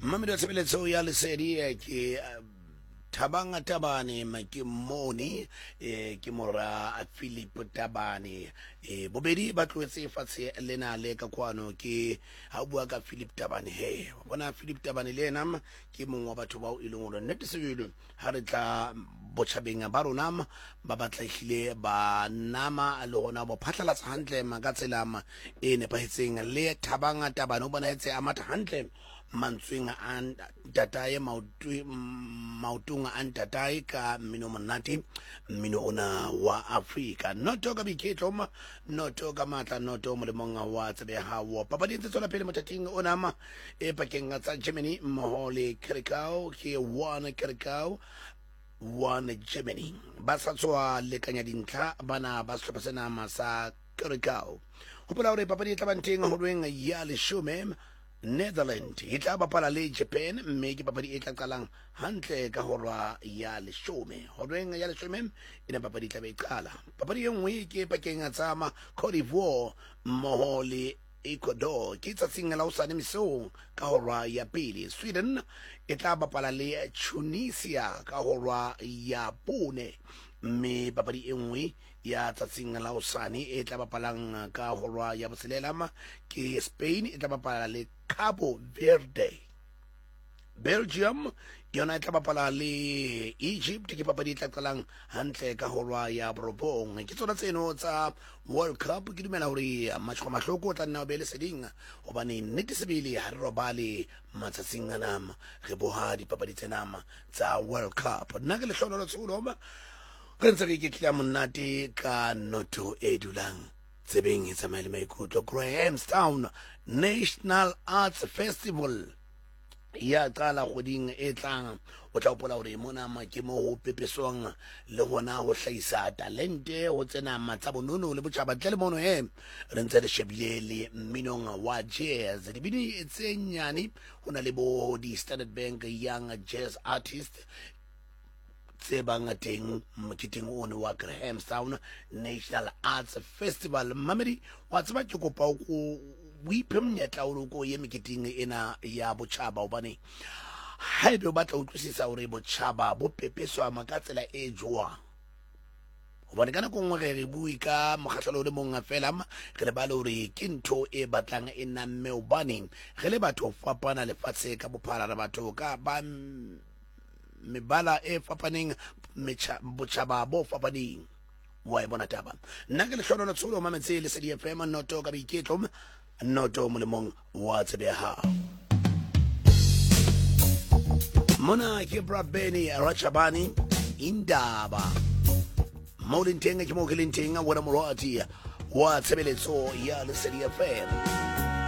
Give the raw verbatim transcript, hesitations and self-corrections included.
Mmamedi wa tshebeletso ya Lesedi, eh, ke eh, Thabang Tabane, ma ke mone, eh, ke mora Philip Tabane. Eh, bobedi ba tlohetse fatshe lena le ka kwano. Ke ha o bua ka Philip Tabane, he wa bona Philip Tabane le ena ke mongwe wa batho bao e leng hore nnete sebele ha re tla botjhabeng ba rona ba batla ehlile ba nama le hona bo phatlalatsa hantle ma ka tsela ma e nepahetseng. Le Thabang Tabane o bonahetse a matha hantle mantsweng a ntatae, maoto- maotong a ntatae ka mmino o monate, mmino ona wa Afrika. Noto ka boiketlo ma, noto ka matla, noto molemong wa tsebe ya hao. Papadi e ntse tswela pele mothating ona ma e pakeng tsa Germany mmoho le Curacao, ke one Curacao one Germany. Ba sa tswa lekanya dintlha bana ba sehlopha sena ma sa Curacao. Hopola hore papadi e tla bang teng horeng ya leshome, Netherland e tla bapala le Japan, mme ke papadi e tla qalang hantle ka hora ya leshome. Horeng ya leshome ena papadi e tla be e qala. Papadi e nngwe ke pakeng tsa ma Cote d'Ivoire mmoho le Ecuador, ke tsatsing la hosane mesong ka hora ya pele. Sweden e tla bapala le Tunisia ka hora ya bone, mme papadi e nngwe ya tsatsing la hosane e tla bapalang ka hora ya botshelela ma ke Spain e tla bapala le Cabo Verde. Belgium yona e tla bapala le Egypt, ke papadi e tla qalang hantle ka hora ya borobong. Ke tsona tseno tsa World Cup. Ke dumela hore matjhoko mahloko o tla nna o be leseding, hobane nnete sebele ha re robale matsatsing ana, re boha dipapadi tsena tsa World Cup. Nna ke Lehlohonolo Tsholo, re ntse re iketlile monate ka noto e dulang tsebeng e tsamaye le maikutlo. Grahamstown National Arts Festival ya qala kgweding e tlang. O tla hopola hore mona ma ke mo ho pepeswang le hona ho hlahisa talente ho tsena tsa bonono le botjhaba. Ntle le mono he re ntse re shebile le mminong wa jazz, dibini tse nyane, ho na le bo di-Standard Bank Young Jazz Artist tse bang teng moketeng ono wa Grahamstown National Arts Festival. Mmamedi wa tseba, ke kopa o ko o iphe monyetla o ko ye meketeng ena ya botjhaba, hobane haebe o batla ho utlwisisa hore botjhaba bo pepeswa ka tsela e jwang, hobane ka nako nngwe re re bue ka mokgahlelo o le mong fela, re lebale hore ke ntho e batlang e namme, hobane re le batho fapana lefatshe ka bophara, re batho ka ba mebala e fapaneng, metjha- botjhaba bo fapaneng. Wa e bona taba? Nna ke Lehlohonolo Tsholo, mametse Lesedi F M, noto ka boiketlo, noto molemong wa tsebe ya hao. Mona ke Brabeni Rachabani Indaba. Mo leng teng ke mo ke leng teng, wena morati wa tshebeletso ya Lesedi F M.